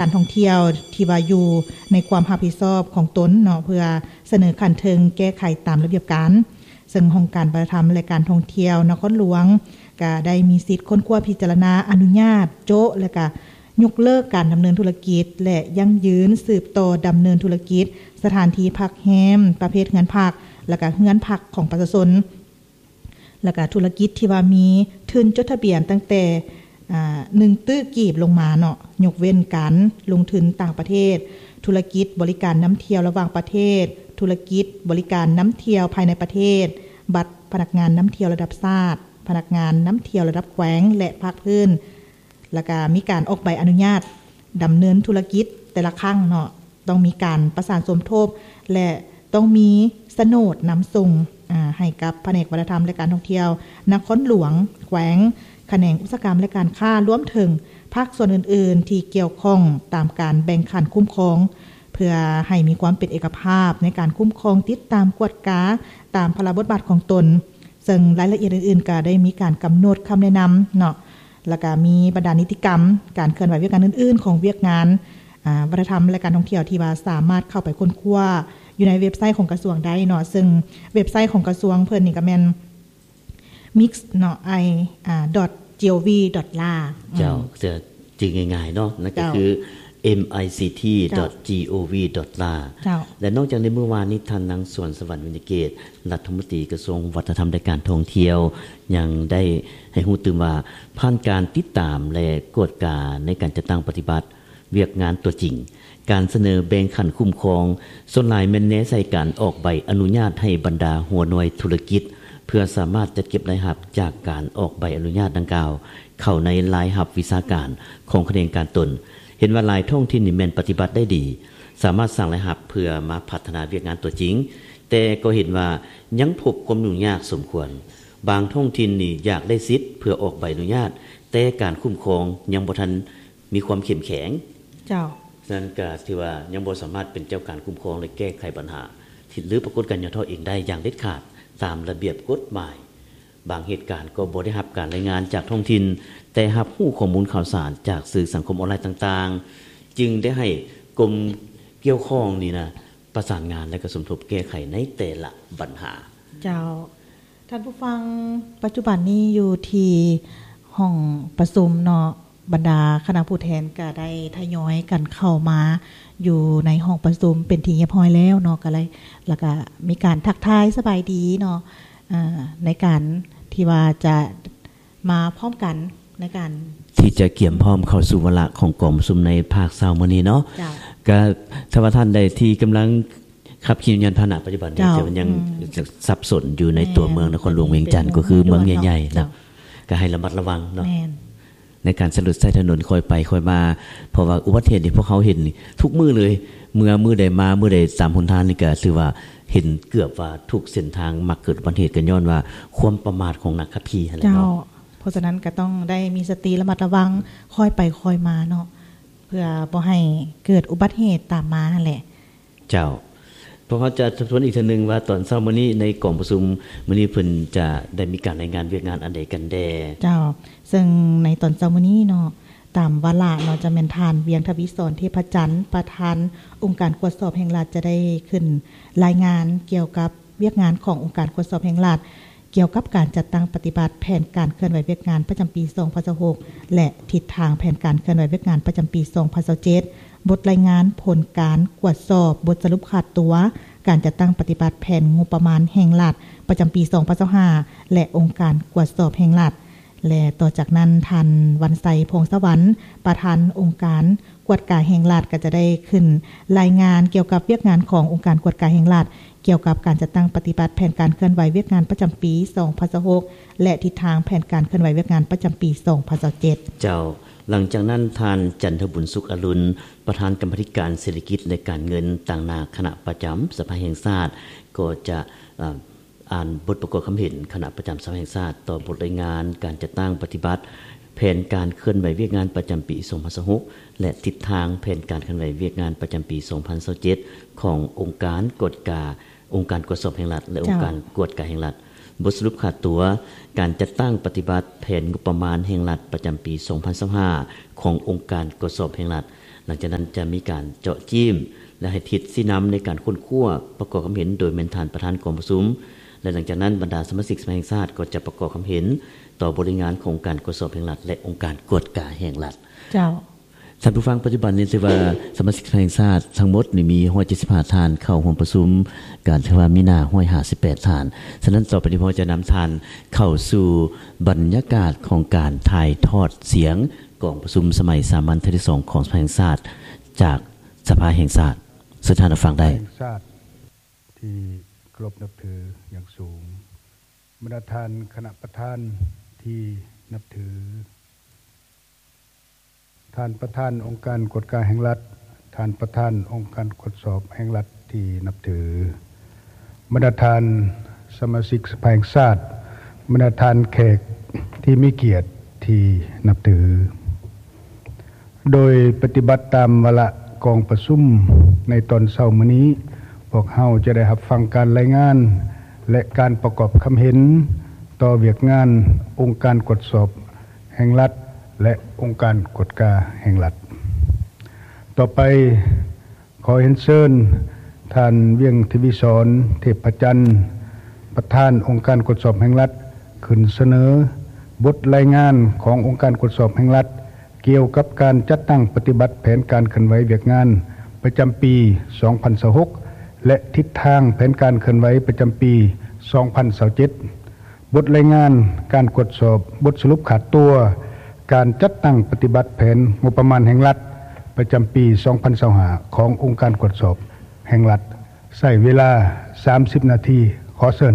ການທ່ອງທ່ຽວທີ່ວ່າຢູ່ໃນຄວາມຮັບຜິດຊອບຂອງຕົນເນາະ ເພື່ອສະເໜີຂັ້ນເທິງແກ້ໄຂຕາມລະບຽບການ. ເຊິ່ງຫ້ອງການວັດທະນະທຳ ແລະ ການທ່ອງທ່ຽວນະຄອນຫຼວງ ກະໄດ້ມີສິດຄົ້ນຄວ້າພິຈາລະນາອະນຸຍາດໂຈະ ແລະ ກະຍົກເລີກການດຳເນີນທຸລະກິດ ແລະ ຢັ້ງຢືນສືບຕໍ່ດຳເນີນທຸລະກິດສະຖານທີ່ພັກແຮມປະເພດເຮືອນພັກ ແລະ ກະເຮືອນພັກຂອງປະຊາຊົນ ແລະ ກະທຸລະກິດທີ່ວ່າມີທຶນຈົດທະບຽນຕັ້ງແຕ່ ອາ ໜຶ່ງຕື້ກີບລົງມາເນາະ, ຍົກເວັ້ນການລົງທຶນຕ່າງປະເທດ, ທຸລະກິດບໍລິການນຳທ່ຽວລະຫວ່າງປະເທດ, ທຸລະກິດບໍລິການນຳທ່ຽວພາຍໃນປະເທດ, ບັດພະນັກງານນຳທ່ຽວລະດັບຊາດ, ພະນັກງານນຳທ່ຽວລະດັບແຂວງ ແລະ ພາກພື້ນ. ແລ້ວກະມີການອອກໃບອະນຸຍາດດຳເນີນທຸລະກິດແຕ່ລະຄັ້ງເນາະ, ຕ້ອງມີການປະສານສົມທົບ ແລະ ຕ້ອງມີສະໂໜດນຳສົ່ງ ອາ ໃຫ້ກັບພະແນກວັດທະນະທຳ ແລະ ການທ່ອງທ່ຽວນະຄອນຫຼວງ, ແຂວງ, ຂະແໜງອຸດສາຫະກຳ ແລະ ການຄ້າ, ລວມເຖິງພາກສ່ວນອື່ນໆທີ່ກ່ຽວຂ້ອງຕາມການແບ່ງຂັ້ນຄຸ້ມຄອງ ເພື່ອໃຫ້ມີຄວາມເປັນເອກະພາບໃນການຄຸ້ມຄອງ, ຕິດຕາມ, ກວດກາຕາມພາລະບົດບາດຂອງຕົນ. ເຊິ່ງລາຍລະອຽດອື່ນໆ ກໍໄດ້ມີການກຳນົດຄຳແນະນຳເນາະ, ແລ້ວກໍມີບັນດານິຕິກຳ ການເຄື່ອນໄຫວວຽກງານອື່ນໆຂອງວຽກງານ ອາ ວັດທະນະທຳ ແລະ ການທ່ອງທ່ຽວ ທີ່ວ່າສາມາດເຂົ້າໄປຄົ້ນຄວ້າຢູ່ໃນເວັບໄຊຂອງກະຊວງໄດ້ເນາະ, ເຊິ່ງເວັບໄຊຂອງກະຊວງເພິ່ນນີ້ກໍແມ່ນ mix ເນາະ i ອາ dot gov dot la ເຈົ້າ. ອືມ ຈະຈື່ງ່າຍໆເນາະ, ນັ້ນກໍຄື mict dot gov dot la ເຈົ້າ. ແລະ ນອກຈາກໃນມື້ວານນີ້ ທ່ານນາງ ສວນສະຫວັນ ວິນຍະເກດ ລັດຖະມົນຕີກະຊວງວັດທະນະທຳ ແລະ ການທ່ອງທ່ຽວ ຍັງໄດ້ໃຫ້ຮູ້ຕື່ມວ່າ ຜ່ານການຕິດຕາມ ແລະ ກວດກາໃນການຈັດຕັ້ງປະຕິບັດວຽກງານຕົວຈິງ, ການສະເໜີແບ່ງຂັ້ນຄຸ້ມຄອງ ສ່ວນຫຼາຍແມ່ນແນໃສ່ການອອກໃບອະນຸຍາດໃຫ້ບັນດາຫົວໜ່ວຍທຸລະກິດ ເພື່ອສາມາດຈັດເກັບລາຍຮັບຈາກການອອກໃບອະນຸຍາດດັ່ງກ່າວ ເຂົ້າໃນລາຍຮັບວິຊາການຂອງຂະແໜງການຕົນ. ເຫັນວ່າຫຼາຍທ້ອງຖິ່ນນີ້ແມ່ນປະຕິບັດໄດ້ດີ, ສາມາດສ້າງລາຍຮັບເພື່ອມາພັດທະນາວຽກງານຕົວຈິງ, ແຕ່ກໍເຫັນວ່າຍັງພົບຄວາມຫຍຸ້ງຍາກສົມຄວນ. ບາງທ້ອງຖິ່ນນີ້ຢາກໄດ້ສິດເພື່ອອອກໃບອະນຸຍາດ, ແຕ່ການຄຸ້ມຄອງຍັງບໍ່ທັນມີຄວາມເຂັ້ມແຂງ. ເຈົ້າ. ສະນັ້ນກໍຖືວ່າຍັງບໍ່ສາມາດເປັນເຈົ້າການຄຸ້ມຄອງ ແລະ ແກ້ໄຂບັນຫາ ຫຼື ປາກົດການຫຍໍ້ທໍ້ເອງໄດ້ຢ່າງເດັດຂາດຕາມລະບຽບກົດໝາຍ. ບາງເຫດການກໍບໍ່ໄດ້ຮັບການລາຍງານຈາກທ້ອງຖິ່ນ, ແຕ່ຮັບຮູ້ຂໍ້ມູນຂ່າວສານຈາກສື່ສັງຄົມອອນລາຍຕ່າງໆ, ຈຶ່ງໄດ້ໃຫ້ກົມກ່ຽວຂ້ອງນີ້ນະ ປະສານງານ ແລະ ກະສົມທົບແກ້ໄຂໃນແຕ່ລະບັນຫາ. ເຈົ້າ. ທ່ານຜູ້ຟັງ, ປັດຈຸບັນນີ້ຢູ່ທີ່ຫ້ອງປະຊຸມເນາະ, ບັນດາຄະນະຜູ້ແທນກະໄດ້ທະຍອຍກັນເຂົ້າມາຢູ່ໃນຫ້ອງປະຊຸມເປັນທີ່ຮຽບຮ້ອຍແລ້ວເນາະ, ກະເລີຍ ແລ້ວກະມີການທັກທາຍສະບາຍດີເນາະ, ເອີ ໃນການທີ່ວ່າຈະມາພ້ອມກັນໃນການທີ່ຈະກຽມພ້ອມເຂົ້າສູ່ວາລະຂອງກອງປະຊຸມໃນພາກເຊົ້າມື້ນີ້ເນາະ. ເຈົ້າ. ກະຖ້າວ່າທ່ານໃດທີ່ກຳລັງ ຂັບຂີ່ຍານພາຫະນະປັດຈຸບັນນີ້ ເຈົ້າ ຈະຍັງ ອືມ ສັບສົນຢູ່ໃນຕົວເມືອງນະຄອນຫຼວງວຽງຈັນ ແມ່ນ ກໍຄືເມືອງໃຫຍ່ໆ ເຈົ້າ ເນາະ, ກໍໃຫ້ລະມັດລະວັງເນາະ ແມ່ນ ໃນການສະຫຼຸດໃຊ້ຖະໜົນຄ່ອຍໄປຄ່ອຍມາ, ເພາະວ່າອຸບັດເຫດນີ້ພວກເຮົາເຫັນທຸກມື້ເລີຍ, ເມື່ອມື້ໃດມາມື້ໃດຕາມຫົນທາງນີ້ກໍຖືວ່າເຫັນເກືອບວ່າທຸກເສັ້ນທາງມັກເກີດອຸບັດເຫດ ກໍຍ້ອນວ່າຄວາມປະໝາດຂອງນັກຂັບຂີ່ຫັ້ນແຫຼະເນາະ. ເຈົ້າ. ເພາະສະນັ້ນກໍຕ້ອງໄດ້ມີສະຕິລະມັດລະວັງ ຄ່ອຍໄປຄ່ອຍມາເນາະ ເພື່ອບໍ່ໃຫ້ເກີດອຸບັດເຫດຕາມມາຫັ້ນແຫຼະ. ເຈົ້າ. ພວກເຮົາຈະທົບທວນອີກເທື່ອໜຶ່ງວ່າ ຕອນເຊົ້າມື້ນີ້ໃນກອງປະຊຸມມື້ນີ້ ເພິ່ນຈະໄດ້ມີການລາຍງານວຽກງານອັນໃດກັນແດ່? ເຈົ້າ. ເຊິ່ງໃນຕອນເຊົ້າມື້ນີ້ເນາະ, ຕາມວາລະເນາະ, ຈະແມ່ນທ່ານ ວຽງທະວີສອນ ເທບພະຈັນ ປະທານອົງການກວດສອບແຫ່ງລັດ ຈະໄດ້ຂຶ້ນລາຍງານກ່ຽວກັບວຽກງານຂອງອົງການກວດສອບແຫ່ງລັດ ກ່ຽວກັບການຈັດຕັ້ງປະຕິບັດແຜນການເຄື່ອນໄຫວວຽກງານປະຈຳປີສອງພັນຊາວຫົກ ແລະ ທິດທາງແຜນການເຄື່ອນໄຫວວຽກງານປະຈຳປີສອງພັນຊາວເຈັດ, ບົດລາຍງານຜົນການກວດສອບ, ບົດສະຫຼຸບຂາດຕົວການຈັດຕັ້ງປະຕິບັດແຜນງົບປະມານແຫ່ງລັດປະຈຳປີສອງພັນຊາວຫ້າ ແລະ ອົງການກວດສອບແຫ່ງລັດ. ແລະ ຕໍ່ຈາກນັ້ນ ທ່ານ ວັນໄຊ ພອງສະຫວັນ ປະທານອົງການກວດກາແຫ່ງລັດ ກໍຈະໄດ້ຂຶ້ນລາຍງານກ່ຽວກັບວຽກງານຂອງອົງການກວດກາແຫ່ງລັດ ກ່ຽວກັບການຈັດຕັ້ງປະຕິບັດແຜນການເຄື່ອນໄຫວວຽກງານປະຈຳປີສອງພັນຊາວຫົກ ແລະ ທິດທາງແຜນການເຄື່ອນໄຫວວຽກງານປະຈຳປີສອງພັນຊາວເຈັດ. ເຈົ້າ. ຫຼັງຈາກນັ້ນ ທ່ານ ຈັນທະບຸນ ສຸກອະລຸນ ປະທານກຳມາທິການເສດຖະກິດ ແລະ ການເງິນ ຕາງໜ້າຄະນະປະຈຳສະພາແຫ່ງຊາດ ກໍຈະ ເອີ ອ່ານບົດປະກອບຄຳເຫັນຄະນະປະຈຳສະພາແຫ່ງຊາດຕໍ່ບົດລາຍງານການຈັດຕັ້ງປະຕິບັດແຜນການເຄື່ອນໄຫວວຽກງານປະຈຳປີສອງພັນຊາວຫົກ ແລະ ທິດທາງແຜນການເຄື່ອນໄຫວວຽກງານປະຈຳປີສອງພັນຊາວເຈັດ ຂອງອົງການກວດກາ ອົງການກວດສອບແຫ່ງລັດ ແລະ ອົງການກວດກາແຫ່ງລັດ. ເຈົ້າ. ບົດສະຫຼຸບຂາດຕົວການຈັດຕັ້ງປະຕິບັດແຜນງົບປະມານແຫ່ງລັດປະຈຳປີສອງພັນຊາວຫ້າ ຂອງອົງການກວດສອບແຫ່ງລັດ. ຫຼັງຈາກນັ້ນຈະມີການເຈາະຈີ້ມ ແລະ ໃຫ້ທິດຊີ້ນຳໃນການຄົ້ນຄວ້າ ປະກອບຄຳເຫັນໂດຍແມ່ນທ່ານປະທານກອງປະຊຸມ ແລະ ຫຼັງຈາກນັ້ນບັນດາສະມາຊິກສະພາແຫ່ງຊາດກໍຈະປະກອບຄຳເຫັນຕໍ່ບົດລາຍງານຂອງອົງການກວດສອບແຫ່ງລັດ ແລະ ອົງການກວດກາແຫ່ງລັດ. ເຈົ້າ. ທ່ານຜູ້ຟັງ, ປັດຈຸບັນນີ້ຖືວ່າສະມາຊິກສະພາແຫ່ງຊາດທັງໝົດນີ້ມີຮ້ອຍເຈັດສິບຫ້າທ່ານເຂົ້າຮ່ວມປະຊຸມກັນ, ຖືວ່າມີໜ້າຮ້ອຍຫ້າສິບແປດທ່ານ. ສະນັ້ນຕໍ່ໄປນີ້ ເຮົາຈະນຳທ່ານເຂົ້າສູ່ບັນຍາກາດຂອງການຖ່າຍທອດສຽງກອງປະຊຸມສະໄໝສາມັນເທື່ອທີສອງຂອງສະພາແຫ່ງຊາດ ຈາກສະພາແຫ່ງຊາດ. ເຊີນທ່ານຮັບຟັງໄດ້. ແຫ່ງຊາດທີ່ເຄົາລົບນັບຖືຢ່າງສູງ, ບັນດາທ່ານຄະນະປະທານທີ່ນັບຖື, ທ່ານປະທານອົງການກວດກາແຫ່ງລັດ, ທ່ານປະທານອົງການກວດສອບແຫ່ງລັດທີ່ນັບຖື, ບັນດາທ່ານສະມາຊິກສະພາແຫ່ງຊາດ, ບັນດາທ່ານແຂກທີ່ມີກຽດທີ່ນັບຖື. ໂດຍປະຕິບັດຕາມວາລະກອງປະຊຸມໃນຕອນເຊົ້າມື້ນີ້, ພວກເຮົາຈະໄດ້ຮັບຟັງການລາຍງານ ແລະ ການປະກອບຄຳເຫັນຕໍ່ວຽກງານອົງການກວດສອບແຫ່ງລັດ ແລະ ອົງການກວດກາແຫ່ງລັດ. ຕໍ່ໄປ ຂໍຮຽນເຊີນທ່ານ ວຽງ ທະວີສອນ ເທບພະຈັນ, ປະທານອົງການກວດສອບແຫ່ງລັດ ຂຶ້ນສະເໜີບົດລາຍງານຂອງອົງການກວດສອບແຫ່ງລັດ ກ່ຽວກັບການຈັດຕັ້ງປະຕິບັດແຜນການເຄື່ອນໄຫວວຽກງານປະຈຳປີສອງພັນຊາວຫົກ ແລະ ທິດທາງແຜນການເຄື່ອນໄຫວປະຈຳປີສອງພັນຊາວເຈັດ. ບົດລາຍງານການກວດສອບ, ບົດສະຫຼຸບຂາດຕົວການຈັດຕັ້ງປະຕິບັດແຜນງົບປະມານແຫ່ງລັດ ປະຈຳປີສອງພັນຊາວຫ້າ ຂອງອົງການກວດສອບແຫ່ງລັດ, ໃຊ້ເວລາສາມສິບນາທີ. ຂໍເຊີນ.